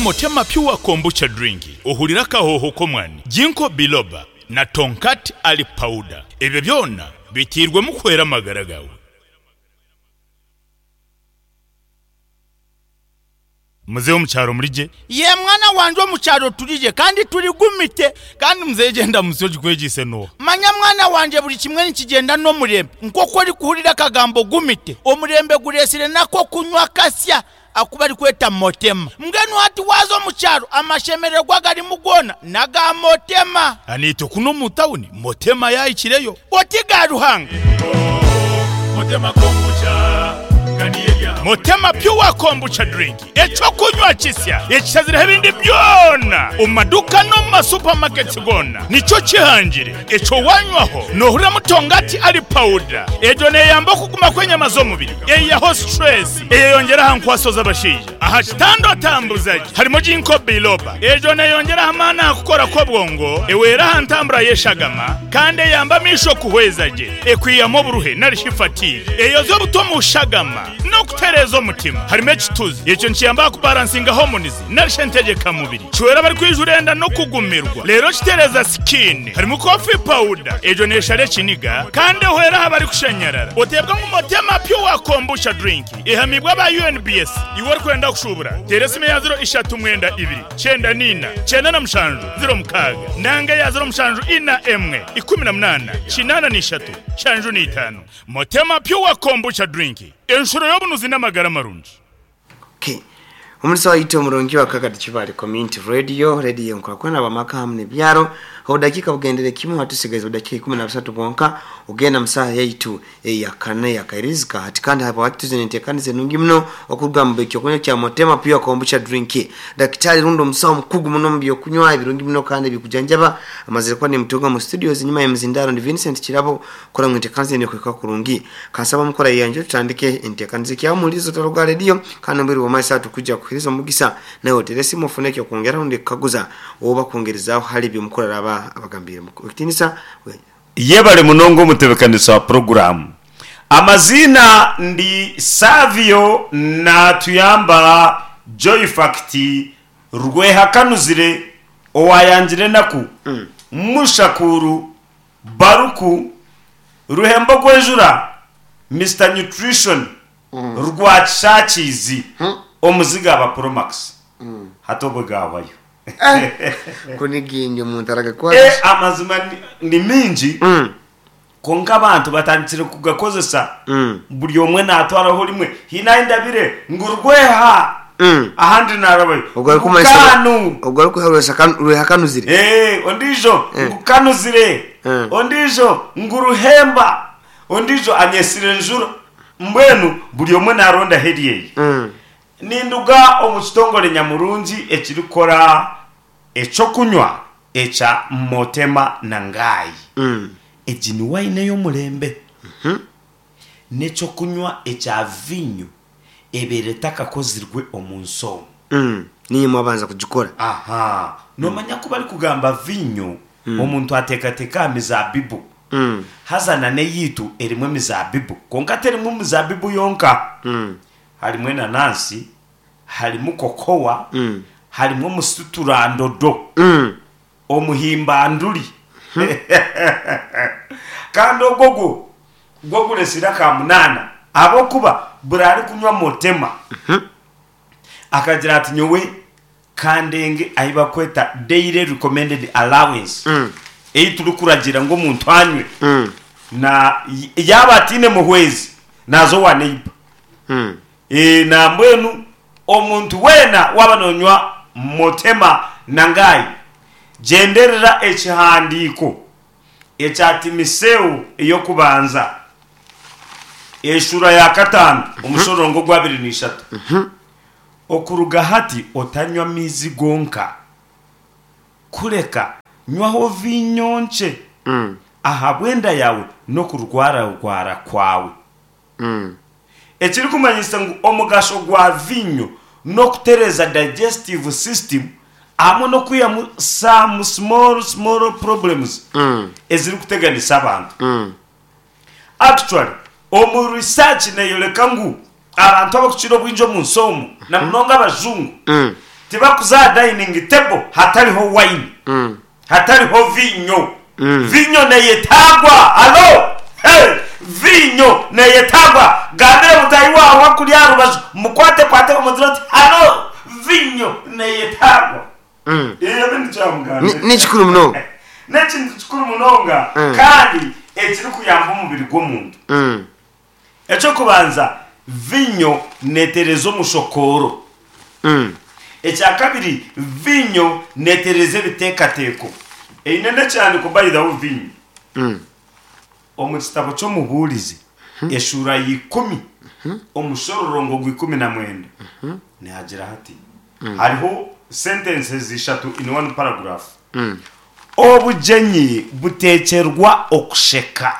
Motema Pure Kombucha Drink ohurire akahooho k'omwani, Ginkgo Biloba na Tongkat Ali Powder. Ebyo byona biteirwemu kuhwera amagara gaawe. Muzeeyi omu kyaro muri gye? Yee mwana wangye omu kyaro turi gye kandi turi gumite. Kandi muzeeyi gyenda musyo ogikwegyeise n'oha? Manya mwana wangye buri kimwe nikigyenda n'omurembe. Nk'oku orikuhurira akagambo gumite, omurembe gureetsire n'ak'okunywa kasya aku barikweta motema. Mbwenu hati waaza omu kyaro amashemererwa agarimu goona n'aga motema. Naitwe kunu omu tawuni motema yaahikireyo. Oti ga Ruhanga. Motema Pure Kombucha Drink, eky'okunywa kisya ekishazireho ebindi byona omu maduuka n'omu ma supermarkets goona nikyo kihangire. Ekyo wanywaho nohuriramu tongati ali powder. Egyo neyamba okuguma kw'enyama z'omubiri, eyihaho stress, eyeyongyera aha nkwaso z'abashaija. Aha kitanda otambuza gye harimu Ginkgo biloba. Egyo neyongyera aha maani aha kukora kw'obwongo, ehwera aha ntambura y'eshagama kandi eyamba amaisho kuhweza gye. Ekwihamu oburuhe nari shi fatigue. Eyozya obuta omu shagama n'okutereeza omutima. Harimu ekituzi. Ekyo nikiyamba aha kubaransinga hormones nari shi entegyeka mubiri. Kihwera abarikwijura enda n'okugumirwa. Reero kitereeza skin. Harimu coffee powder. Egyo neshara ekiniga kandi ehwera aha barikushanyarara. Oteebwa ngu Motema Pure Kombucha Drink. Ehamiibwe aba UNBS. Iwe orikwenda kushuubura, teera esimu eya ziro ishatu mwenda ibiri, kyenda n'ina, kyenda na mushanju, ziro mukaaga, nanga eya ziro mushanju ina emwe, ikumi na munaana, kinaana na ishatu, nshanju na itaano. Motema Pure Kombucha Drink, enshuro y'obunuzi n'amagara marungi. Okay. Omurisa waitu omurungi wa Kakati Kibale Community Radio, radio enkurakurana abamaka hamu n'ebyaro. Obudakiika bugendere kimwe hatusigaize obudakiika 13 bwonka ogenda mu saaha yaitu eya kana eya Kairizika hati kandi habwaki tuzine entekaniza enungi muno okuruga mu ekyokunywa kya Motema Pure Kombucha Drink. Dakitari rundi omusawo omukugu muno omu byokunywa ebirungi muno kandi ebikujanjaba amazire kuba nimutunga mu studios enyuma y'emizindaro ndi Vincent Kirabo kukora ngu entekaniza enu ekuhika kurungi. Kansaba mukora yeyanje tutandike entekaniza ekyaho omuhuliriza otaruga aha rediyo kandi omu bwire bw'omumaiso aha tukwija kukuhereza omugisa naiwe otere esimu ofune ekyokwongeraho rundi kukaguza oba kwongerezaaho hali ebi omukuru araaba abagambiire. Ekitinisa. Yebare munonga omutebekanisa wa puroguramu. Amaziina ndi Savio Natuyamba Joyfact Rwehakanuzire owayangire enaku Mushakuru Baruku Ruhembo Gwenjura Mister Nutrition Rwakishakiizi Omuziga aba Promax Hati obwe gahwayo. Ku ni gingi omuntu Eh, aragakwata. amazima ni- ni mingi kwonka abantu batandikire kugakozesa buri omwe natwaraho rimwe haine ahu ndabire ngu rweha ahandi narabayo Ogwo ngu arikumanyisa kanu ogwo arikuha rwehakanuzire. Eh, ondiijo ngu kanuzire ondiijo ngu ruhemba ondiijo anyesire enjura mbwenu buri omwe narondaho eryeye Ninduga omu kitongore nyamurungi ekirikukora eky'okunywa ekya Motema na Ngai. Egi ni waini ey'omurembe. N'eky'okunywa ekya viinyo ebaire etakakozirwe omu nsi omu. Niinywe mwabanza kugikora. Aha. Noomanya ku barikugamba viinyo, omuntu ateekateeka aha mizaabibu. Haza na n'eyaitu erimu emizaabibu. Kwonka terimu mizaabibu yonka. Harimu enanansi, harimu kokowa, harimu omusuturandodo, omuhimbanduri. Kandi ogwo gwo gwo guresire aka munaana ahabw'okuba buri arikunywa motema akagira ati nyowe kandenge ahi barikweta daily recommended allowance ei turikuragiira ngu omuntu anywe na yaaba ataine muhwezi naaza owa neighbour. Nambwenu omuntu weena waaba nonywa Motema na Ngai, gyenderera ekihandiiko ekya Timiseo ey'okubanza eshuura ya kataano omushororongo ogw'abiri n'ishatu. Okuruga hati otanywa maizi gonka, kureka nywaho viinyo nkye ahabw'enda yaawe n'okurwararwara kwawe. Ekirikumanyisa ngu omugasho gwa viinyo n'okutereeza digestive system hamwe n'okwihamu some small small problems ezirikuteganisa abantu. Actually omu research neyoreka ngu abantu abakukira obwingi omunsi omu na munonga abajungu. Tibakuza aha dining table hatariho wine, hatariho viinyo. Viinyo neyetaagwa. Halo! Hey! Viinyo neyetaagwa. Gambira mutaahi waawe akuri aha rubaju, mukwatekwate omugire oti, Halo! Viinyo neyetaagwa. Ebyo nikyo yamugambire. Ni kikuru munonga. N'ekintu kikuru munonga kandi ekirikuyamba omubiri gw'omuntu. Eky'okubanza, viinyo neetereeza omushokooro. Ekya kabiri, viinyo neetereeza ebiteekateeko. Eine n'ekihandiiko by the way viinyo. Omu kitabo ky'Omubuurizi eshuura ya ikumi omushororongo gwa 19 nihagira hati, hariho sentences ishatu in one paragraph. Obugyenyi buteekyerwa okusheka.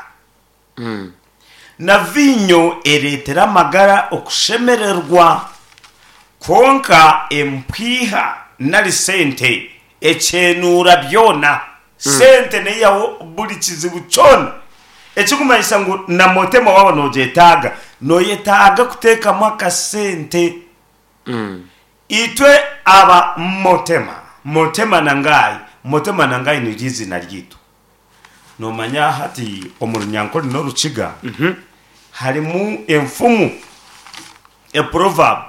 Na viinyo ereetera amagara okushemererwa, kwonka empiiha nari sente ekyenuura byona. Sente neihaho buri kizibu kyona. Ekirikumanyisa ngu na motema waaba noogyetaaga, nooyetaaga kuteekamu akasente. Itwe aba Motema, Motema na Ngai, Motema na Ngai niryo eiziina ryaitu. Noomanya hati omu Runyankore n'Orukiga harimu enfumu, a proverb,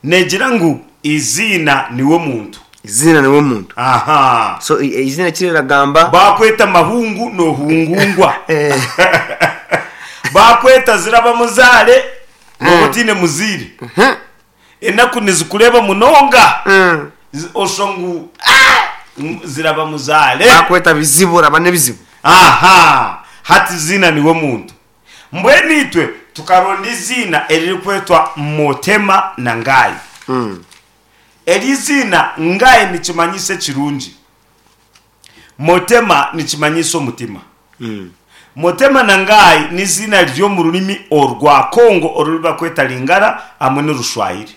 neegira ngu eiziina niwe muntu. Eiziina niwe muntu. Aha. So eiziina eki riragamba. Baakweta Mahungu noohungungwa. Baakweta Zirabamuzaare nooba otaine muzaire. Enaku nizikureeba munonga, oshusha ngu ziraba muzaare. Bakweta bizibu oraba n'ebizibu. Aha! Hati iziina niwe muntu. Mbwenu itwe tukaronda eiziina eririkwetwa Motema na Ngai. Eri iziina Ngai nikimanyisa ekirungi. Motema nikimanyisa omutima. Motema na Ngai n'iziina riri omu rurimi orwa Kongo oruri bakweta Lingala hamwe n'Orushwahiri.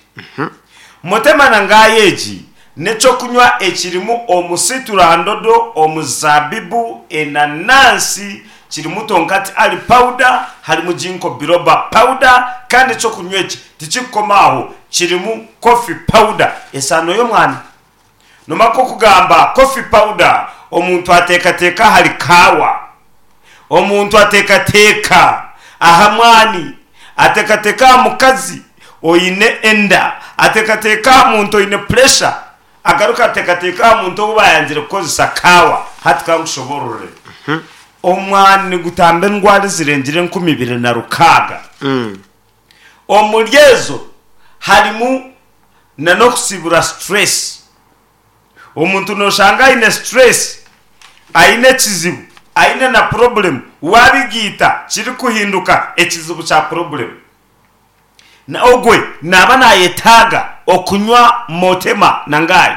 Motema na Ngai egi n'eky'okunywa ekirimu omusiturandodo, omuzabibu, enanansi, kirimu tonkati ali powder, harimu ginkgo biloba powder kandi eky'okunywa eki tikirikukoma aho kirimu coffee powder, esaano y'omwani. Nomara nk'okugamba coffee powder, omuntu ateekateeka ahari kaawa, omuntu ateekateeka aha mwani, ateekateeka aha mukazi oine enda, ateekateeka aha muntu oine pressure, agaruka ateekateeka aha muntu ou baayangire kukozesa kaawa. Hati ka nkushoboororere. Omwani nigutamba endwara ezirengire 2600. Omuri ezo harimu na n'okusibura stress. Omuntu noshanga aine stress, aine ekizibu, aine na problem, wabigiita kirikuhinduka ekizibu kya problem. Na ogwe naba nayetaaga okunywa Motema na Ngai.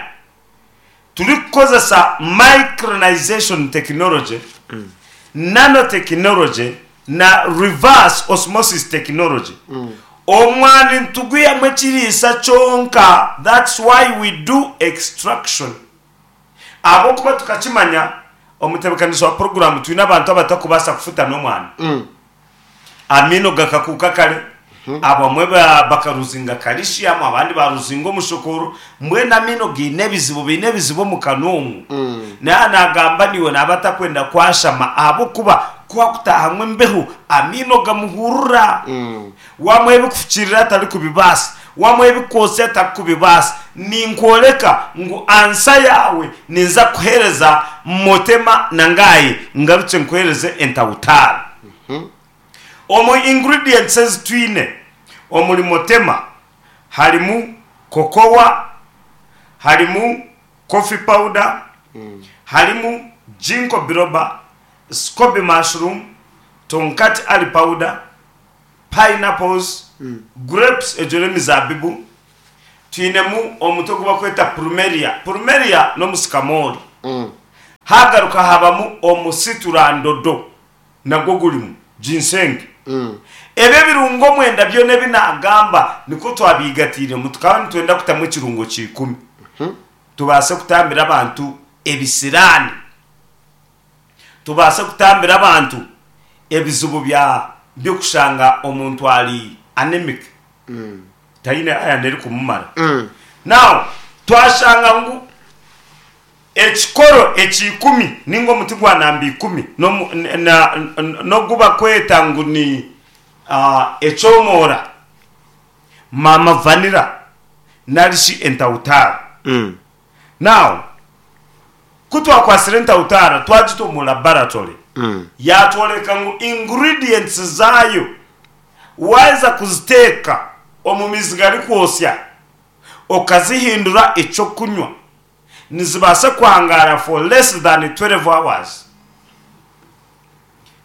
Turikukozesa micronization technology, nanotechnology na reverse osmosis technology, omwani nitugwihamu ekiriisa kyonka, that's why we do extraction. Ahabw'okuba tukakimanya, omutebeekanisa wa puroguraamu twine abantu abatakubaasa kufutana omwani. Amaino gakakuuka kare, abamwe bakaruzinga calcium, abandi baruzinga omushokoro, mbwenu amaino gaine ebizibu, baine ebizibu omu kanwa omwo. Naaba nagamba naiwe naaba atakwenda kwashama ahabw'okuba ku akutaahamu embeho amaino gamuhurura. Wamuha ebikufukirira tarikubibaasa, wamuha ebikwotsya tarikubibaasa. Ninkworeka ngu ansa yaawe ninza kukuheereza Motema na Ngaye ngarukye nkuheereze entawutaara. Omu ingredients ezi twine omuri Motema harimu cocoa, harimu coffee powder, harimu ginkgo biloba, scoby mushroom, tonkat ali powder, pineapples, grapes egyo n'emizaabibu, twinemu omuti ogu barikweta plumeria, plumeria n'omusikamoori, hagaruka habamu omusiturandodo. Nagwo gurimu ginseng. Ebi ebirungo omwenda byona ebi naagamba nikwo twabiigatiiremu. Tukaba nitwenda kutamu ekirungo kya ikumi tubaase kutambira abantu ebisiraani, tubaase kutambira abantu ebizibu bya by'okushanga omuntu ari anemic, taine iron erikumumara. Now. Twashanga ngu ekikoro eky'ikumi ninga omuti gwa namba ikumi n'ogu bakweta ngu ni ekyomoora, maama vanilla nari shi entawutaara. Now, ku twakwatsire entawutaara twagita omu laboratory, yaatworeka ngu ingredients zaayo waaheza kuziteeka omu maizi garikwotsya okazihindura eky'okunywa, nizibaasa kuhangaara for less than 12 hours.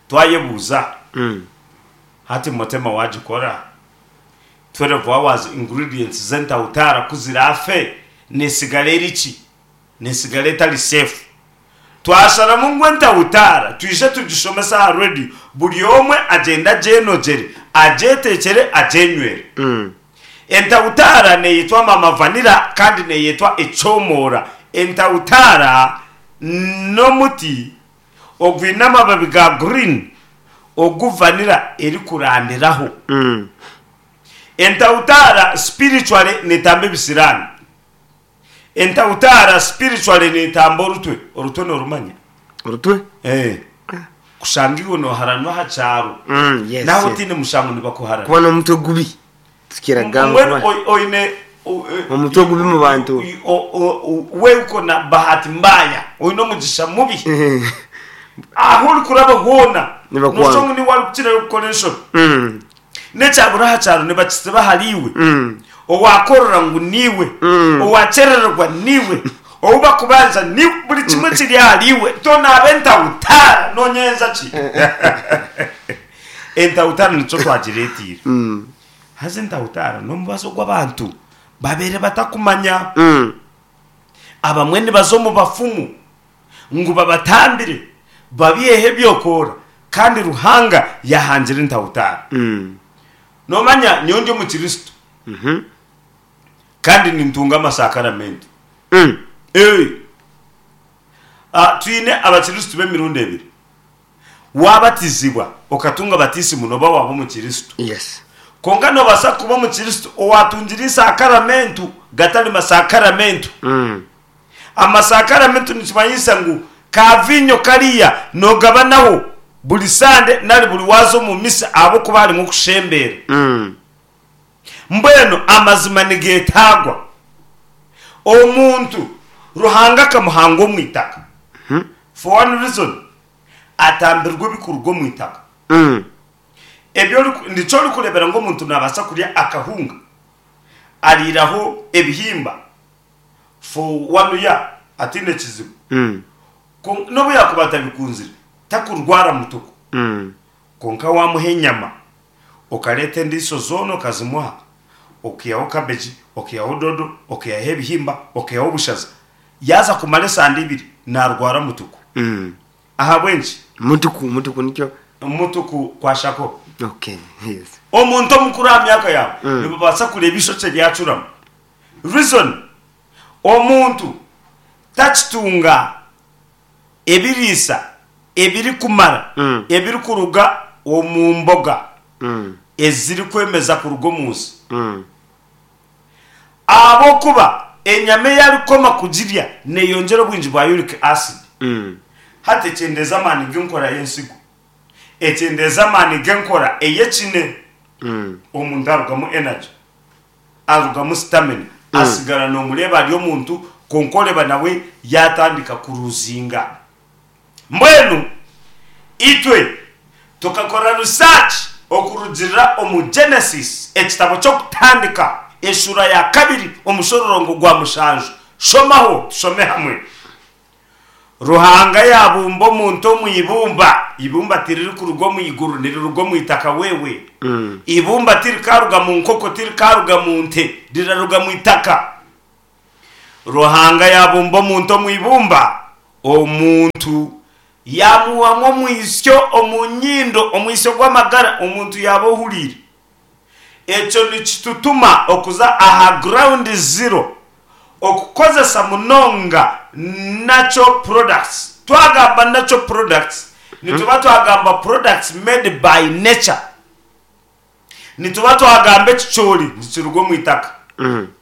Twayebuuza, hati Mutema waagikora? 12 hours ingredients z'entawutaara ku ziraafe neesigara eri ki? Neesigara etari safe. Twasharamu ngu entawutaara twije tugishomese aha radio buri omwe agyende agyenogyere, agyeteekyere, agyenywere. Entawutaara neeyetwa mama vanilla kandi neeyetwa ekyomoora. Entawutaara n'omuti ogwine amababi ga green ogu vanilla erikurandiraho. Entawutaara spiritually neetamba ebisiraani. Entawutaara spiritually neetamba orutwe. Orutwe noorumanya? Orutwe? Eh. Kushanga iwe nooharanwa aha kyaro. Yes, Naaba yes. otaine mushango nibakuharana. Kuba n'omutwe gubi. Tukira Mbwenu kuba oine omutwe gubi mu bantu. We uko na bahati mbaya, oine omugisha mubi. Ahu orikuraba hoona Nibakwanga. noshusha ngu niiwe arikukirayo kukora enshobi. N'ekyabura aha kyaro nibakitsiba ahariiwe. Owaakorora ngu niiwe, owaakyerererwa niiwe, ou bakubanja niiwe, buri kimwe kiri ahariiwe. Tonaaba entawutaara, noonyenza ki? Entawutaara nikyo twagireeteire. Haza entawutaara n'omubazi ogu abantu babaire batakumanya. Abamwe nibaza omu bafumu ngu babatambire babaiheho ebyokoora kandi Ruhanga yaahangire entawutaara. Noomanya nyowe ndi Omukristo kandi nintunga amasakaramento. Twine Abakristo b'emirundi ebiri. Waabatizibwa okatunga batiisimu nooba waaba Omukristo. Yes. Kwonka noobaasa kuba Omukristo owaatungire eisakaramentu gatari masakaramentu. Amasakaramentu nikimanyisa ngu ka viinyo kariya noogabanaho buri Sande nari buri waaza omu misa ahabw'okuba harimu okushembeera. Mbwenu amazima nigeetaagwa. Omuntu Ruhanga akamuhanga omu itaka. For one reason, atambirwe ebikuruga omu itaka. Ebi oriku, nikyo orikureebera ngu omuntu naabaasa kurya akahunga ariiraho ebihimba for one year ataine kizibu. Kwonka n'obu yaakuba atabikunzire, takurwara mutuku. Kwonka waamuha enyama, okareeta endiiso zoona okazimuha, okaihaho kabeegi, okaihaho doodo, okaihaho ebihimba, okaihaho obushaza, yaaza kumara esande ibiri naarwara mutuku. Ahabw'enki? Mutuku, mutuku nikyo. Mutuku kwashako. Okay, yes. Omuntu omukuru aha myaka yaawe nibabaasa kureeba eishokye ryacuramu. Reason, omuntu takitunga ebiriisa ebirikumara ebirikuruga omu mboga ezirikwemeza kuruga omu nsi. Ahabw'okuba enyama ei arikukoma kugirya neeyongyera obwingi bwa uric acid. Hati ekyendeeza amaani g'enkora y'ensigo, ekyendeeza amaani g'enkora ey'ekine, omuntu arugamu energy. Arugamu stamina asigara nomureeba ari omuntu kwonka oreeba nawe yatandika kuruzinga. Mbwenu itwe tukakora research okurugirira omu Genesis ekitabo ky'okutandika eshuura ya kabiri omushororongo gwa mushanju. Shomaho tushome hamwe. Ruhanga yaabumba omuntu omu ibumba. Eibumba tiririkuruga omu iguru, niriruga omu itaka wewe. Eibumba tirikaaruga mu nkoko, tirikaaruga mu nte, riraruga mu itaka. Ruhanga yaabumba omuntu omu ibumba, omuntu yaamuhamu omwitsyo omu nyindo, omwitsyo gw'amagara, omuntu yaaba ohuriire. Ekyo nikitutuma okuza aha ground zero okukozesa munonga natural products. Twagamba natural products nituba twagamba products made by nature. Nituba twagamba ekicoori nikiruga omu itaka,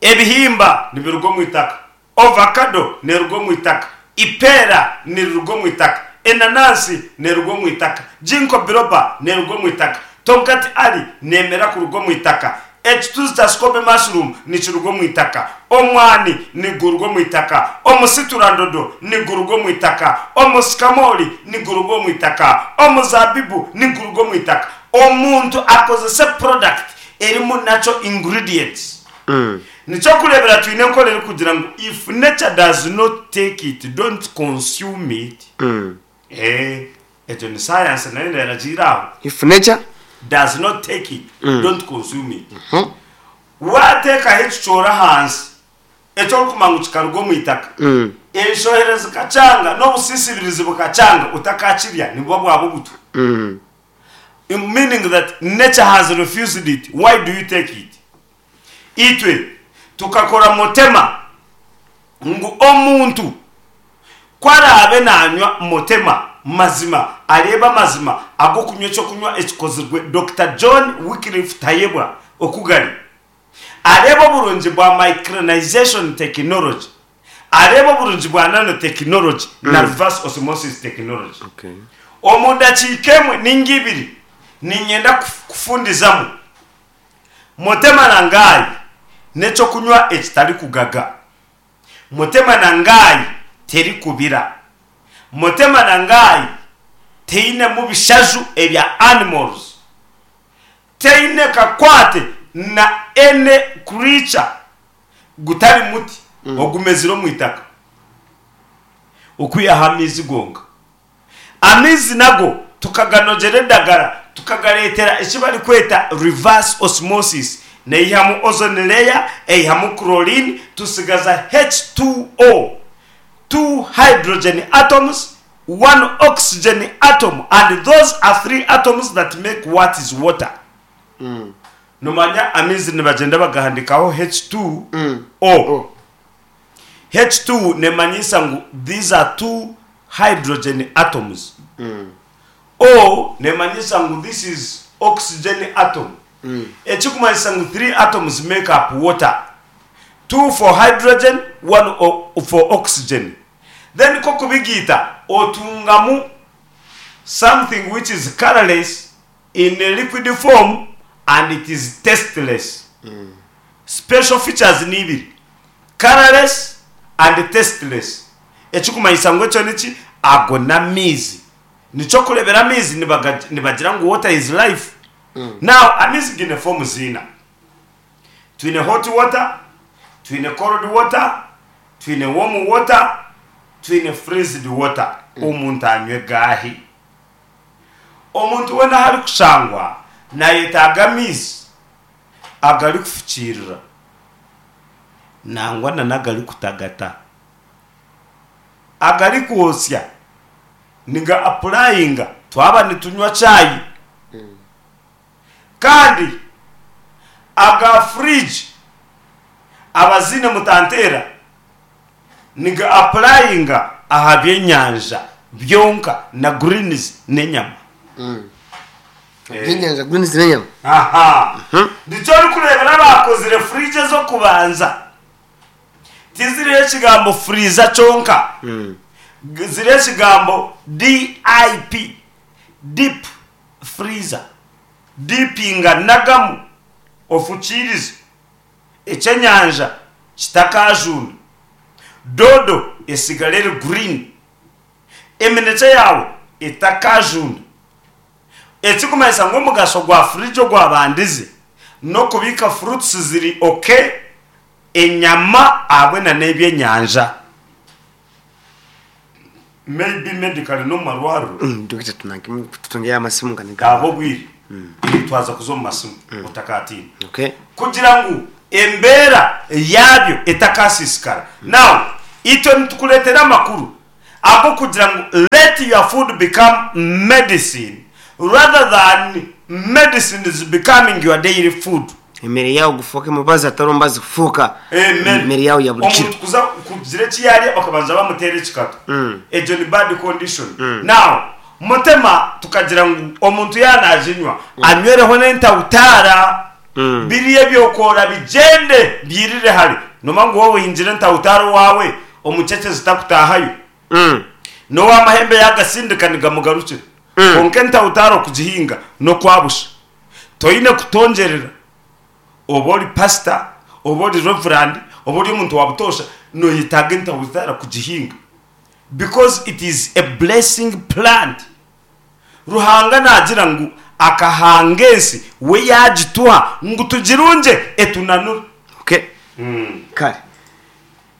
ebihimba nibiruga omu itaka. Ovakado neeruga omu itaka. Ipeera niriruga omu itaka. Enanansi neeruga omu itaka. Ginkgo biloba neeruga omu itaka. Tongkat ali neemera kuruga omu itaka. Ekituzi kya scoby mushroom nikiruga omu itaka. Omwani niguruga omu itaka. Omusiturandodo niguruga omu itaka. Omusikamoori niguruga omu itaka. Omuzaabibu niguruga omu itaka. Omuntu akozese product erimu natural ingredients. Nikyokureebera twine enkora erikugira ngu if nature does not take it, don't consume it. Eeh, egyo ni science nayo neragiira aho. If nature. Does not take it, don't consume it. Waateekaho ekicoori ahansi, eki orikumanya ngu kikaruga omu itaka, enshohera zikakyanga n'obusisibirizi bukakyanga, otakakirya nibuba bwaba obutwa. Meaning that nature has refused it, why do you take it? Itwe tukakora mutema ngu omuntu ku araabe naanywa mutema mazima areebe amazima ag'okunywa eky'okunywa ekikozirwe Dokita John Wycliffe Tayebwa oku gari, areebe oburungi bwa micronization technology, areebe oburungi bwa nanotechnology na reverse osmosis technology. Omu dakiika emwe ninga ibiri niinyenda kufundizamu. Motema na Ngai n'eky'okunywa ekitarikugaga. Motema na Ngai terikubira. Motema na Ngai teinemu bishaju ebya animals. Teine kakwate na any creature gutari muti ogumezire omu itaka okwihaho amaizi gonka. Amaizi nago tukaganogyera edagara tukagareetera eki barikweta reverse osmosis, neihamu ozone layer, eihamu chlorine, tusigaza H2O, two hydrogen atoms, one oxygen atom and those are three atoms that make what is water. Nomanya amaizi nibagyenda bagahandikaho H2O. H2 nemanyiisa ngu these are two hydrogen atoms. O nemanyiisa ngu this is oxygen atom. Ekikumanyisa ngu three atoms make up water. Two for hydrogen, one for oxygen. Then kokubigiita otungamu something which is colourless in a liquid form and it is tasteless. Special features ni ibiri, colourless and tasteless. Ekikumanyisa ngu ekyo niki? Ago n'amaizi. Nikyo okureebera amaizi nibagira ngu water is life. Now amaizi gaine forms ina. Twine hot water, twine cold water, twine warm water, twine freezed water. Omuntu anywe gaahi? Omuntu weena ahu arikushangwa nayetaaga amaizi agarikufukiirira nangwa na n'agarikutagata. Agarikwotsya niga apurayinga twaba nitunywa chai. Kandi aga fridge abaziine mutanteera niga apurayinga aha by'enyanja byonka na greens n'enyama. Ebyenyanja greens n'enyama. Aha. Nikyo orikureebera abaakozire fridge ez'okubanza tiziriho ekigambo freezer kyonka, ziriho ekigambo DIP, deep freezer. Dipinga nagamu ofukiirize eky'enyanja kitakaajunda, doodo etsigare eri green, eminekye yaawe etakaajunda. Ekikumanyisa ngu omugasho gwa fridge ogwabandize n'okubiika fruits ziri ok, enyama ahabwe na n'ebyenyanja. Maybe medically n'omu marwariro. Dokita tutungeyo amasimu nga niga. Gaba obwire twaza kuza omu masimu otakatiina. Okay. Kugira ngu embeera yaabyo etakasiisikara. Now itwe nitukureetera amakuru ag'okugira ngu let your food become medicine rather than medicines becoming your daily food. Emere yaawe gufuuke mubazi atari omubazi kufuuka Amen. emere yaawe ya buri kiro. Omuntu kuza kugira eki yarya bakabanza bamuteera ekikato. Egyo ni bad condition. Now Mutema tukagira ngu omuntu yaaba naginywa anywereho n'entawutaara. Biriya ebyokoora bigyende byirire hare. Noomanya ngu waaba ohingire entaahutaara owaawe, omukyekye zitakutaahayo. N'ow'amahembe yaagasindika nigamugarukira. Kwonka entaahutaara okugihinga n'okwa busha. Toine kutongyerera. Oba ori pasita, oba ori reverand, oba ori omuntu wa butoosha, nooyetaaga entaahutaara kugihinga because it is a blessing plant. Ruhanga naagira ngu akahanga ensi we yaagituha ngu tugirungye etunanure. Okay. Kale.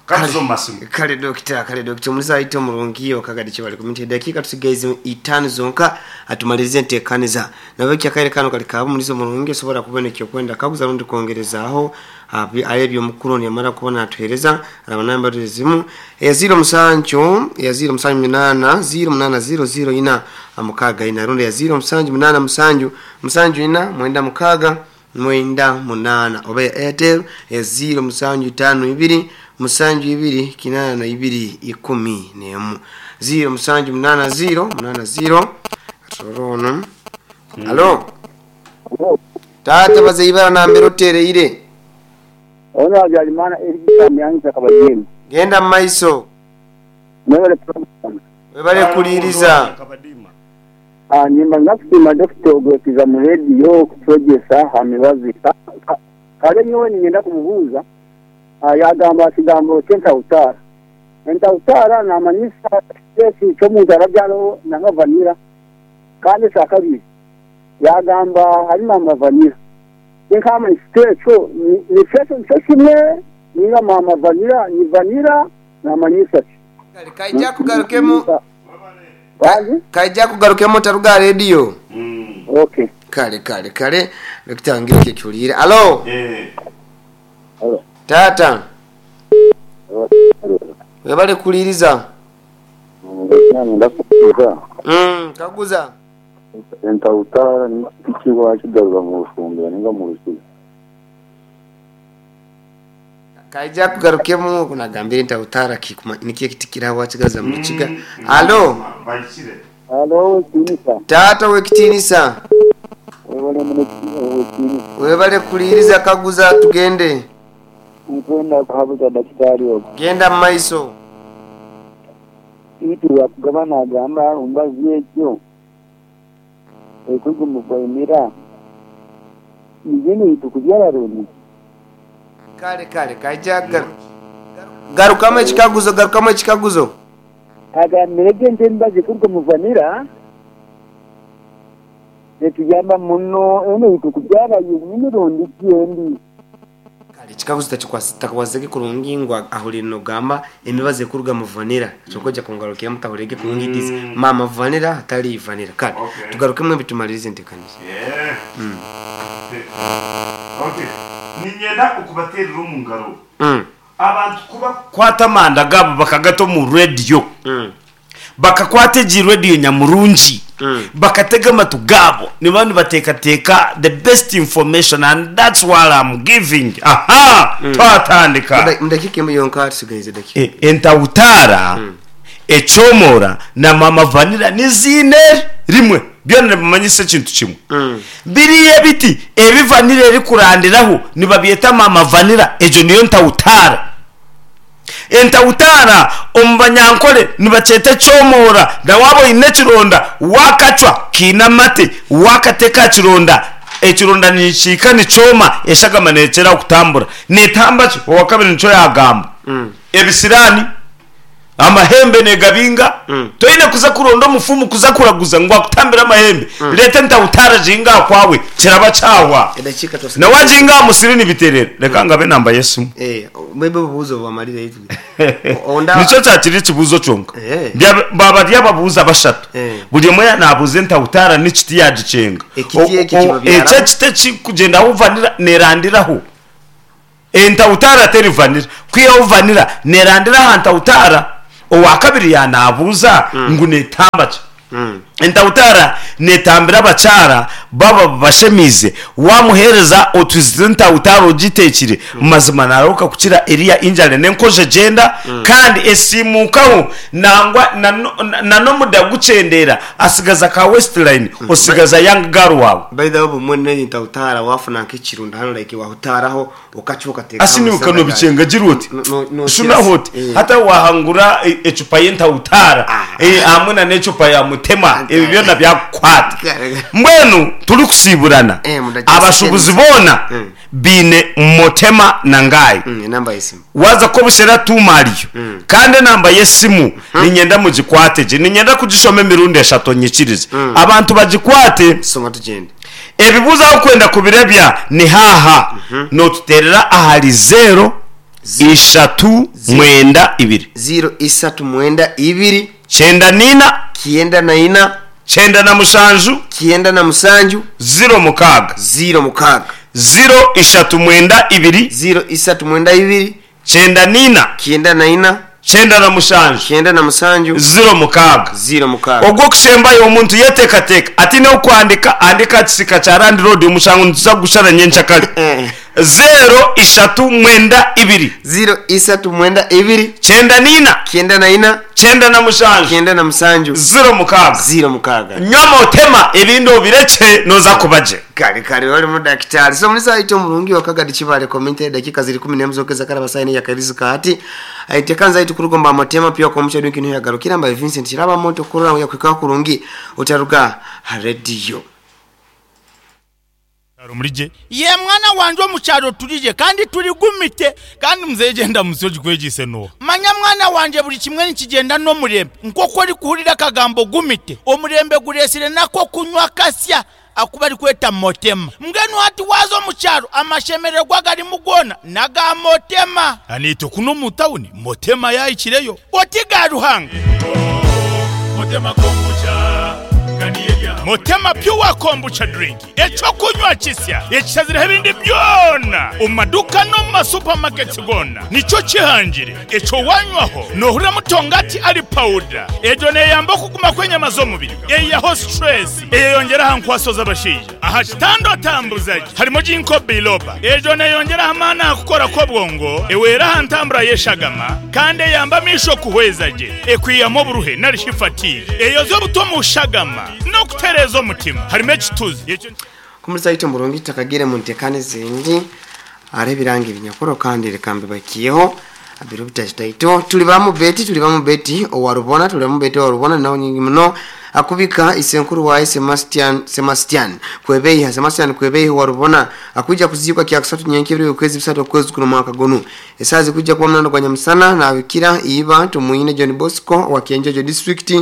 Ka tuze omu masimu. Kale dokita, kale dokita omuriisa waitu omurungi Wakagadi Kibale Community edakiika tusigaize itaano zonka atumalirize enteekaniza. Nabwekyo akaire kanu kali kaaba omuriisa omurungi osobora kuba oine ekyokwenda kaguza rundi kwongerezaaho aha ebyomukuru onu yamara kuba natuhereza araba namba ezimu eya ziiro musanju eya ziiro musanju munaana ziiro munaana ziiro ziiro ina mukaaga ina rundi eya ziiro musanju munaana musanju musanju ina mwenda mukaaga mwenda munaana oba eya Airtel eya ziiro musanju itaano ibiri musanju ibiri kinaana ibiri ikumi n'emu ziiro musanju munaana ziiro munaana ziiro katurore ono Halo taata baza eibara nambere otereire. Ono Habyarimana Eric Kamyanza Kabagyema. Genda mu maiso. Mwebale program. Webale kuliiriza. Nimbanza kusiima Dokita ogwekiza mu rediyo okutwegyesa aha mibazi. Kare nyowe niinyenda kumubuuza, yaagamba aha kigambo ky'entahutaara. Entahutaara naamanyisa eki ky'omuntu arabyaraho nanga vanilla. Kandi ekya kabiri yaagamba ahari maama vanilla. Tinkamanyisa ekyo nikyo ekyo nikyo kimwe ninga maama vanilla ni vanilla namanyisa ki? Kare kaija kugarukemu. Kaija kugarukemu otaruga aha rediyo. Okay. Kale kale kale Dokita ngira ekyo okihuliire. Alo taata webale kuhuliiriza. Kaguza. Entahutaara ni ki wakigarura mu rufumbira ninga mu rukiga? Kaija akugarukemu ogu nagambire entahutaara nikyo ekiti kiri aho wakigaruza mu rukiga. Alo. Alo owekitiinisa. Taata owekitiinisa. Webale muno owekitiinisa. Webale kuhuliiriza kaguza tugende. Nkwenda kuhabuza dakitaari ogu. Genda mumaiso. Beitu Rwakugaba naagamba aha mbazi egyo erikugumibwa niyo n'eitu kubyara rundi? Kale kale kaija garukamu ekikaguzo garukamu ekikaguzo. Agambire gye nti emibazi ekuruga omu vanilla netuyamba muno enu eitu kubyara yenyini rundi ki endi. Kare ekikaguzo takwasize kurungi ngu ahurire nogamba emibazi ekuruga mu vanilla kyonka oija kungarukiramu tahurire kurungi it is maama vanilla hatari vanilla kare Okay. tugarukemu ebi tumaririze enteekaniza. Yeah. Okay. Niinyenda okubateerera omu ngaro. Abantu ku bakukwata amanda gaabo bakagata omu rediyo, Bakakwata egi rediyo nyamurungi, bakatega amatu gaabo, nibaba nibateekateeka the best information and that's what I'm giving. Aha! Twatandika. Mu dakiika emwe yonka tusigaize dakiika. Entahutaara, ekyomora na maama vanilla niziine rimwe. Byona nibimanyisa ekintu kimwe. Biriya ebiti ebi vanilla erikurandiraho nibabyeta maama vanilla, egyo niyo ntahutaara. Entahutaara omu Banyankore nibakyeta ekyomoora na waaba oine ekironda waakacwa kiine amate waakateeka aha kironda, ekironda nikihika nikyoma eshagama neerekyera aho kutambura. Neetamba ki? Owakabiri nikyo yaagamba. Ebisiraani, amahembe neegabinga, toine kuza kuronda omufumu kuza kuraguza ngu akutambire amahembe, reeta entahutaara ogihinge aha kwawe kiraba kyahwa. Edakiika Na twasigaza. waagihinga aha musiri nibitereera. Reka ngabe enamba y'esimu. Eh, maybe obubuuzo bwamarire itwe. Onda Nikyo kyakiri ekibuuzo kyonka. Eh. Baba bari ababuuza bashatu. Eh. Buri omwe naabuuza entahutaara n'ekiti yaagikyenga. Ekiti ekyo kibabyaraho. Ekyo ekiti ekirikugyenda ahu vanira neerandiraho. Entahutaara teri vanira. Kwihaho vanira neerandira aha ntahutaara. Owaakabiri yaanaabuuza ngu neetamba ki? Entahutara netambira abakyara baba babashemiize, wamuhereza otwizi tw'entahutara ogitekire, mazima narahuka kukira eriya injury n'enkojo egyenda kandi esiimukaho nangwa na n'omuda gukyendeera asigaza ka waist line osigaza young girl waawe. By the way obumwe n'entahutara wafuna nk'ekirunda hanu like wahutaraho okacwa okateeka Asi aha niiwe musana kanobikyengagira oti No- no- shunaho oti Eh. hati wahangura e- ecupa y'entahutaara Ah. eh, hamwe na n'ecupa ya mutema ebi byona byakukwata Kare. mbwenu turikusiiburana Eh, mudakika abashubuzi seconds. boona Mm. baine mutema na ngaayi Enamba y'esimu. waza kobushera tuuma ariyo kandi enamba y'esimu niinyenda mugikwate gye niinyenda kugishoma emirundi eshatu onyikirize abantu bagikwate Soma tugyende. Ebibuuzo ahu orikwenda kubirebya ni haaha, Nootuteerera ahari zeero ishatu mwenda ibiri. Zeero isatu mwenda ibiri. Kyenda naina. Kyenda naina. Kyenda na mushanju. Kyenda na musanju. Ziro mukaaga. Ziro mukaaga. Ziro ishatu mwenda ibiri. Ziro isatu mwenda ibiri. Kyenda naina. Kyenda naina. 97. 97. 06. 06. Ogw'okushembayo omuntu yeteekateeka ataine w'okuhandiika, ahandiike aha kisiika kya landiroodi omushango nituza kugushara nyenkyakare. 0392. 0392. 94. 94. 97. 97. 06. 06. Nywa motema ebindi obirekye nooza kuba gye. Kare kare wali mudakitari. So mulisa aito mulungi wakagadi chibale komite dakika ziri 11 zokeza karaba saini ya karizu kati. Aitekanza aitu kurugomba motema pia kwa mcha dunki niyo yagarukira mba Vincent Chiraba moto kurura ya kwika kurungi utaruga radio. Ye mwana wangye omu kyaro turigye kandi turigumite kandi muzeeyi gyenda munsi ogikwegyise n'oha? Manya mwana wangye buri kimwe nikigyenda n'omurembe nk'oku orikuhurira akagambo gumite omurembe gureetsire n'ak'okunywa akasya aku barikweta motema. Mbwenu hati waaza omu kyaro amashemererwa agarimu goona n'aga motema. Naitwe kunu omu tawuni motema yaahikireyo oti ga Ruhanga. Motema Pure Kombucha Drink, eky'okunywa kisya ekishazireho ebindi byona omu maduuka n'omu ma supermarkets goona. Nikyo kihangire ekyo wanywaho nohurira mutongati ari pawuda. Egyo neyamba okuguma kw'enyama z'omubiri, eyihaho stress, eyeyongyera aha nkwaso z'abashaija. Aha kitanda otambuza gye harimu Ginkgo biloba. Egyo neyongyera aha maani aha kukora kw'obwongo, ehwera aha ntambura y'eshagama kandi eyamba amaisho kuhweza gye, ekwihamu oburuhe nari shi fatigue, eyozya obutwa omu shagama n'okutereeza omutima. Harimu ekituzi. Ekyo nikyo. Kumurisa itwe murungi tutakagiire mu nteekane ezindi hariho ebiranga ebinyakuro kandi reka mbibakiyeho biro bitahitaito. Turi ba Mubeti turi ba Mubeti owa Rubona turi ba Mubeti owa Rubona naho nyingi muno akubika isenkuru waye Semastian Semastian Kwebeiha Semastian Kwebeiha owa Rubona akwija kuziikwa kyakusatu nyenka ebiro by'okwezi bisatu okwezi kuno omwaka gunu esaaha zikwija kuba munana gwa nyamusana nabikira iba Tumwine John Bosco owa Kyenjojo district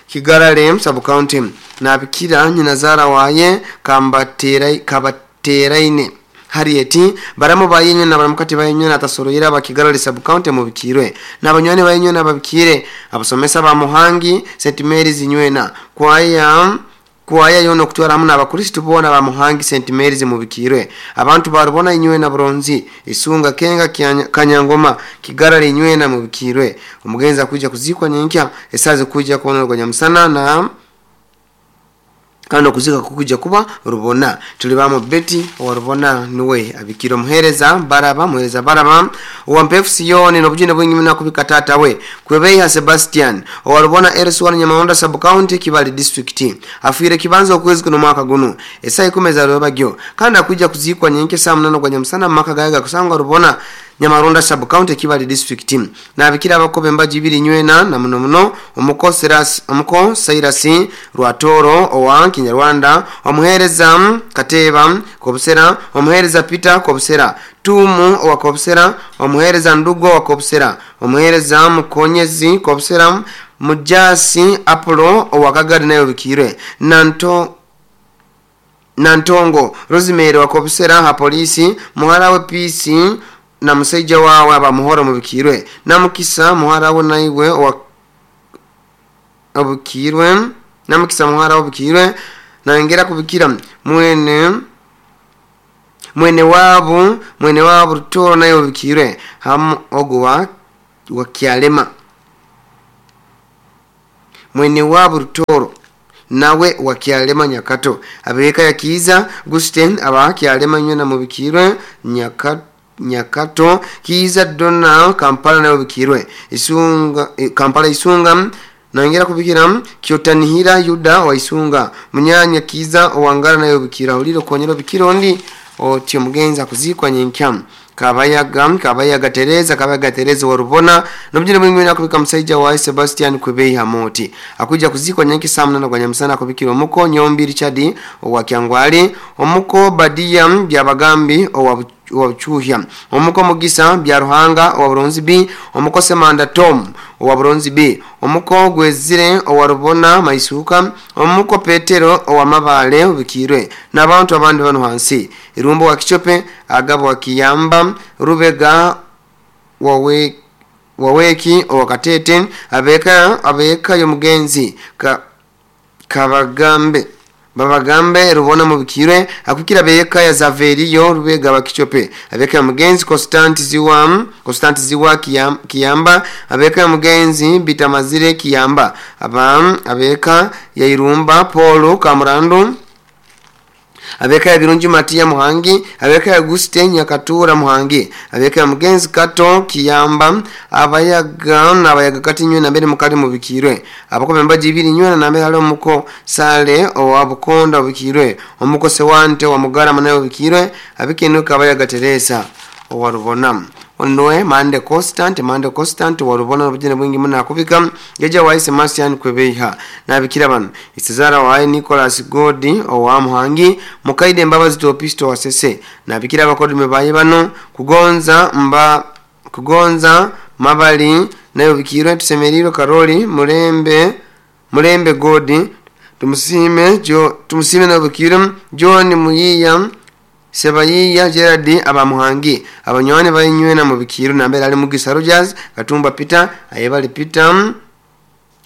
Kigarale sub county nabikira nyinazaara waye Kabateraine Harriet, baramu ba inywe na baramukati ba inywe natasoroire aba Kigarali Sub-County mubikiirwe, na banywani ba inywe nababikiire, abasomesa ba Muhangi St Mary's inywena, kwaya kwaya yoona okutwara hamu n'abakristo boona ba Muhangi St Mary's mubikiirwe, abantu ba Rubona inywena Buronzi, Isunga, Kenga, Kanyangoma, Kigarali inywena mubikiirwe. Omugenzi akwija kuziikwa nyenkya esaaha zikuija kubonerwa nyamusana na Kandi okuziika kukwija kuba Rubona. Tuli baamu Betty owa Rubona nuwe abikire omuheereza Baraba, muheereza Baraba owa Mpefu Sioni n'obujune bwingi muno akubika taata we Kwebeiha Sebastian owa Rubona LC1 Nyamahunda Sub County Kibale District. Afiire kibanza okwezi kuno omwaka gunu esaaha ikumi eza rwebagyo kandi akwija kuziikwa nyenkya esaaha munana ogwa nyamusana mumaka gaye agakusangwa Rubona Nyamarunda Sub County Kibale District. Nabikira abakoba embaju ibiri nywena na muno muno omuko omuko Silas Rwatooro owa Kinyarwanda, omuheereza Kateeba Kobusera, omuheereza Peter Kobusera, Tuumu owa Kobusera, omuheereza Ndugo owa Kobusera, omuheereza Mukonyezi Kobusera, Mujaasi Apollo owa Kagadi nawe obikiirwe, Nanto Nantongo Rosemary owa Kobusera aha Poliisi, muhara we Peace na musaija waawe aba Muhoro Mubikiirwe, Namukisa muhara we naiwe owa Obukiirwe, Namukisa muhara we Obukiirwe, nayongera kubikira mwene mwene waabu mwene waabu Rutoro naiwe Obukiirwe hamu ogu wa wa Kyalema mwene waabu Rutoro. nawe wa Kyalema Nyakato. Abeka ya Kiiza Gusten aba Kyalema nywena mubikirwe Nyakato. Kiiza Donna Kampala nawe bikirwe Isunga, Kampala Isunga nongera kubikira Kyotanihira Yuda wa Isunga munyanya Kiiza owangara nayo bikira huliro konyero bikira ondi otyo mugenza kuzikwa nyenkya. Kabayaga Tereza wa Rubona nobjira mwingi nakubika msaija wa Sebastian Kwebei Hamoti akuja kuzikwa nyenki saa 8 kwa nyamsana kubikira omuko Nyombi Richard wa Kyangwali, omuko Badia Byabagambi owa Chuhya, omuko Mugisa Bya Ruhanga owa Buronzi B, omuko Semanda Tom owa Buronzi B, omuko Gwezire owa Rubona Maisuka, omuko Petero owa Mabale ubikirwe n'abantu abandi bano hansi. Irumbo wa Kichope, Agabo wa Kiyamba, Rubega waweki owa Katete, abeka yomugenzi Kabagambe Babagambe Rubona mubikirwe akukira beka ya Zaveriyo Rubega wa Kichope, abeka ya mugenzi Constant Ziwa Kiyamba, abeka ya mugenzi Bitamazire Kiyamba, abeka ya Irumba Paulo Kamurandu, abeka ya Birungi Matia Muhangi, abeka ya Guste Nyakatura Muhangi, abeka ya mugenzi Kato Kiyamba, abayaga n'abayaga kati nywe na mbere mukali mubikirwe abako membaji ibiri nywe na mbere hali omuko Sale owa Bukonda ubikirwe, omuko Sewante wa Mugara manayo ubikirwe, abikenuka abayaga Teresa owa Rubona. Ondoe Mande Constant wa Rubona n'obujene bwingi muna akubika geja wa Sebastian Kwebeiha nabikira bano Isezara wa Nicholas Godi owa Muhangi, Mukaide Mbabazi Topisto wa Sese nabikira abakodume baye bano kugonza Mabali nayo bikirwe Tusemeriro Karoli Mulembe Godi Tumusime nayo bikirwe John Muyiya Sebayiya Gerard abamuhangi abanywane bayinywe na mubikiru nambere ali Mugisa Rogers Katumba Peter ayebali Peter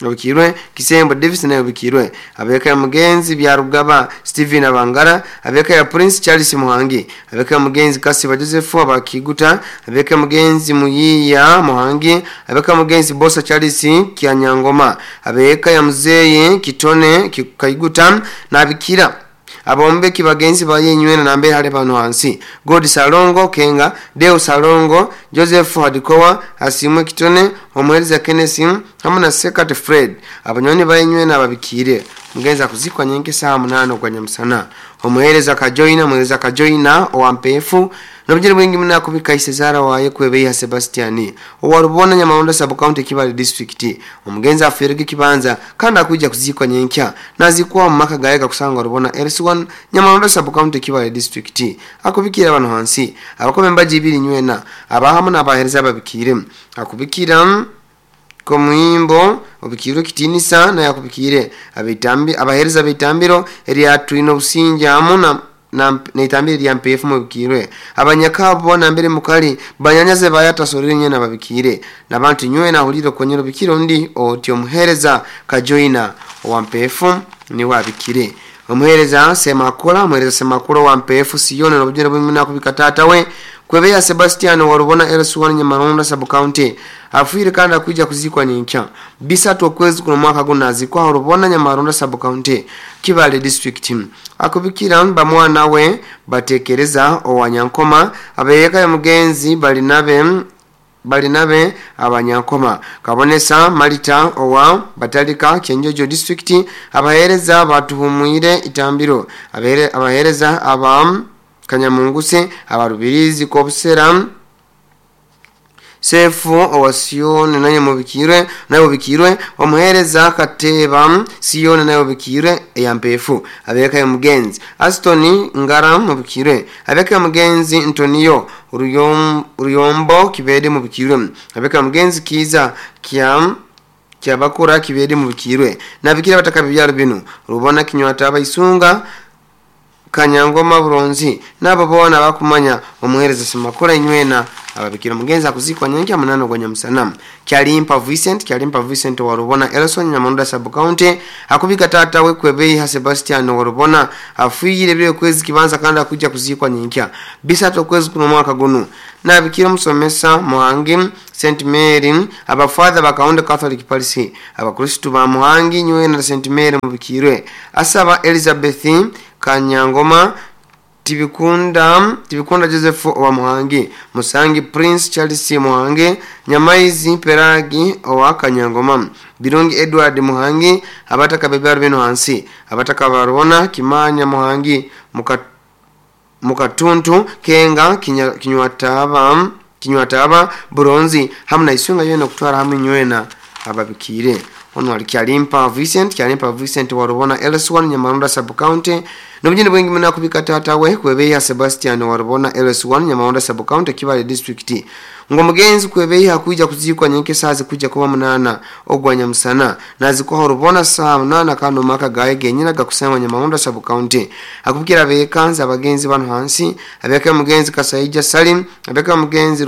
mubikirwe Kisembo Davis nayo bikirwe abeka ya mugenzi Byarugaba Steven Abangara, abeka ya Prince Charles Muhangi, abeka ya mugenzi Kasiba Joseph abakiguta, abeka ya mugenzi Muyiya Muhangi, abeka ya mugenzi Bosa Charles Kyanyangoma, abeka ya muzeye Kitone Kaiguta nabikira abombeki bagenzi baye nywena nambe hale bano hansi God Salongo Kenga, Deo Salongo, Joseph Hadikowa, Asimwe Kitone, Omuhereza Kenneth hamwe na Sekate Fred abanyoni baye nywena babikire mugenza kuzikwa nyenke saa 8 kwa nyamsana. Omuhereza Kajoina owa Mpefu nobujere bwingi muna kubika Isezara waye Kwebeiha Sebastiani owa Rubona Nyamarondo sub county Kibale district. Omugenza afirige kibanza kandi akuja kuzikwa nyenkya nazikwa mu maka gaye kusanga Rubona LC1 Nyamarondo sub county Kibale district. Akubikira abantu hansi abakome mbaji ibiri nywena abahamu n'abahereza babikire akubikira komuimbo obikirwe kitinisa na yakubikire abitambi abahereza bitambiro eryatwino businja amu na itambiro lya mpefu mubikirwe abanyakabo na mbere mukali banyanyaze bayatasorere nyena babikire nabantu nywe na huliro konyero bikiro ndi otyo muhereza Kajoina wa mpefu ni wabikire. Omuhereza Semakula wa mpefu Sione nobujene bwimuna kubikatata we Kwebeya Sebastian wa Rubona LC1 Nyamaronda sub county afwire kandi akuja kuzikwa nyinkya bisatu okwezi kuno mwaka gunazikwa Rubona Nyamaronda sub county Kibale district. Akubikira bamwana we batekereza owanyankoma abeyeka ya mugenzi balinabe abanyankoma Kabonesa Malita owa Batalika Kyenjojo district abahereza batuhumwire itambiro abahereza aba Kanyamunguse abarubirizi kobusera Sefu owa Sione naye mubikirwe naye mubikirwe omuhereza Kateba Sione naye mubikirwe eyampefu abeka ya mugenzi Aston Ngara mubikirwe abeka ya mugenzi Antonio Ruyombo kibede mubikirwe abeka ya mugenzi Kiza Kyabakura kibede mubikirwe nabikira bataka bibyaro bino Rubona Kinywata abayisunga Kanyangoma Buronzi nabo bona bakumanya omuhereza Semakula inywena Ababikira omugenzi akuziikwa nyenkya munana ogwa nyamusana. Kyalimpa Vincent, Kyalimpa Vincent wa Rubona Elson Nyamonda sub county akubika tata we Kwebeiha Sebastian wa Rubona afiire bire kwezi kibanza kandi akuja kuziikwa nyenkya 3 okwezi kuno mwaka guno. Nabikira omusomesa Muhangi St Mary, abafather ba Catholic Parish, abakristu ba Muhangi nywena na St Mary mubikirwe. Asaba Elizabeth Kanyangoma Tibikunda Tibikunda Joseph wa Muhangi, Musangi Prince Charles Muhangi, Nyamaizi Peragi owa Kanyangoma, Birungi Edward Muhangi, abataka bebyaro bino hansi, abataka barubona Kimanya Muhangi, Mukatuntu Kenga Kinywataba Kinywataba Buronzi hamwe na Isunga yena kutwara hamwe nywena ababikire. Ono ali Kyalimpa Vincent, Kyalimpa Vincent wa Rubona LS1 Nyamarunda sub county. Nobujini bwingi muna kubika tata we Kwebeya Sebastian wa Rubona LS1 Nyamarunda sub county Kibale district. Ngo mugenzi Kwebeya hakuja kuzikwa nyenke sazi kuja kuba 8 ogwa nyamusana nazikwa Rubona saa 8 kano maka gaye genyina gakusema Nyamarunda sub county. Akubikira bekanza abagenzi bano hansi, abeka mugenzi Kasaija Salim, abeka mugenzi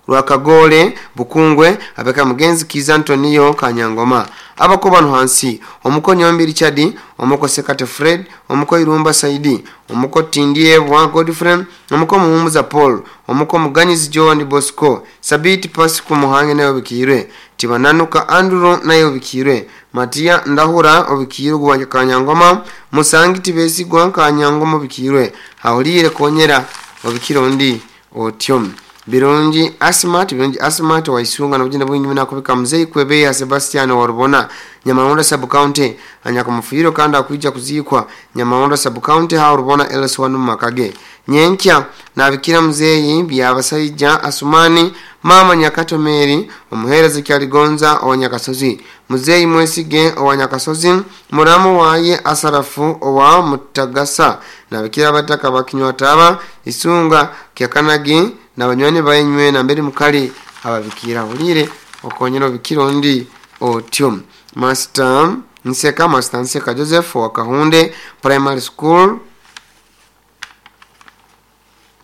Rwakagole Bukungwe, abeka mugenzi Kiza Antonio Kanyangoma. Abako bano hansi, omuko Nyombi Richard, omuko Sekate Fred, omuko Irumba Saidi, omuko Tindie wa Godfrey, omuko Muhumuza Paul, omuko Muganyizi John Bosco, Sabiti Pasiku Muhange nayo bikirwe, Tibananuka Andrew nayo bikirwe, Matia Ndahura obikirwe gwa Kanyangoma, Musangi Tibesigwa Kanyangoma bikirwe, Hawulire Konyera obikiro ndi otyom. Birungi Asmat, Birungi Asmat wa Isunga na ujinda bwingi muna kubika mzee Kwebeya Sebastian wa Rubona Nyamaronda sub county anyakamufiro kanda akuja kuzikwa Nyamaronda sub county ha Rubona LS1 makage. Nyenkya nabikira mzee Byabasaija Asumani, mama Nyakato Mary, omuhereza Kyaligonza owa Nyakasozi, mzee Mwesige owa Nyakasozi, muramu waye Asarafu owa Mutagasa, nabikira bataka bakinywataba Isunga Kyakanagi na banywani bayenywe na mbere mukali ababikira bulire okonyero bikiro ndi otyo. Master Nseka, Master Nseka Joseph wa Kahunde Primary School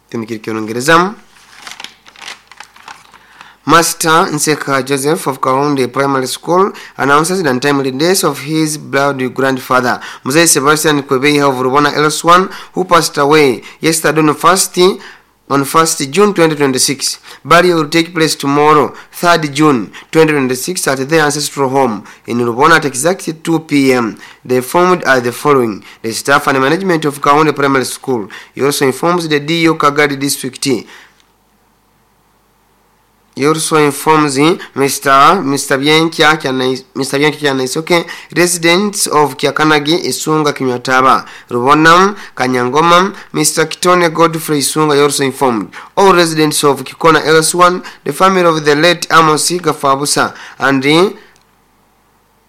Kimikirikyo Master Nseka Joseph of Kahunde Primary School announces the untimely death of his blood grandfather, Mzee Sebastian Kwebeya of Rubona LS1, who passed away yesterday on 1st June 2026. Burial will take place tomorrow, 3rd June 2026, at their ancestral home in Rubona at exactly 2 p.m. They formed are the following: the staff and management of Kahunde Primary School. He also informs the DO Kagadi District. He also informs Mr. Bianchi Kyanaisoke, residents of Kyakanagi, Isunga, Kinywataba, Rubona, Kanyangoma. Mr. Kitone Godfrey Isunga also informed all residents of Kikona LS1, the family of the late Amos Gafabusa, and the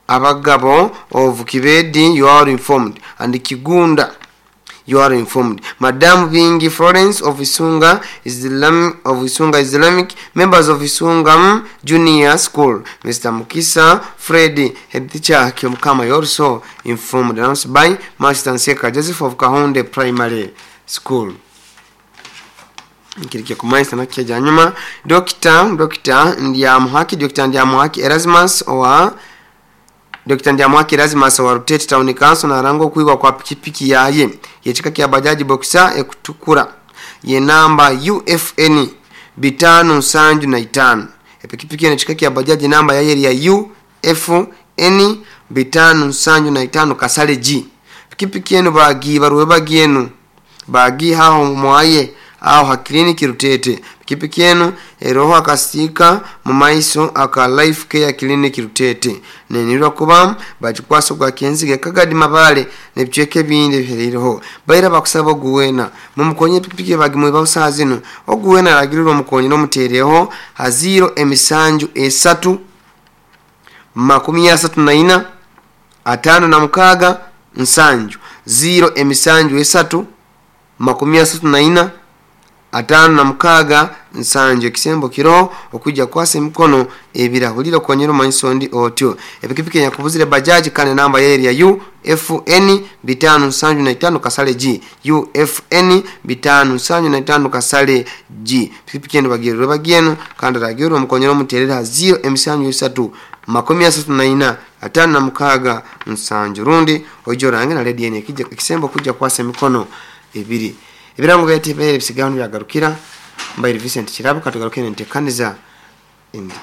Abagabo of Kibedi, you are informed, and Kigunda, you are informed. Madam Bingi Florence of Isunga Islamic, members of Isunga Junior School. Mr. Mukisa Freddy, head teacher Kyomkama, also informed. Announced by Master Nseka Joseph of Kahunde Primary School. Dr. Ndiamuhaki, Dr. Ndiamuhaki Erasmus owa Dr. Ndiamuhaki Erasmus wa Rutete Town Council na rango kuigwa kwa pikipiki yaye yechika kya bajaji boxer ekutukura ye namba UFN 575. Epikipiki yechika kya bajaji namba yaye ya UFN 575 kasale G. Pikipiki yenu bagi baruwe bagi yenu bagi hao mwaye aho ha kliniki Rutete. Pikipiki yenu eroho akasika mu maiso aka Life Care Clinic Rutete. Nenirwa kuba bagikwasa gwa kenzige kagadi mabale nebicheke bindi bihereho. Baira bakusaba oguwena mumukonye pikipiki bagimwe bawusazino oguwena alagirwa mukonye no mutereho haziro emisanju 3 34 56 7 0 emisanju 3 34 56 7. Ekisembo kiroho okwija kukwasa emikono ebirahurire okonyera omanyisa ondi otyo. Epikipiki enyakubuzire bajaji kandi namba yayo eri ya UFN 575 kasale G, UFN 575 kasale G. Pikipiki enu bagirire bagyenu kandi aragirwe omukonyera omuterere ha 0 emisanju 3 34 56 7 rundi oije orange na rediyo enu ekisembo kujja kukwasa emikono ebiri. Ebirango byaitu ebibaire bisigaho nibyagarukira. Mbaire Vincent Kirabo, katugaruke nentekaniza endi.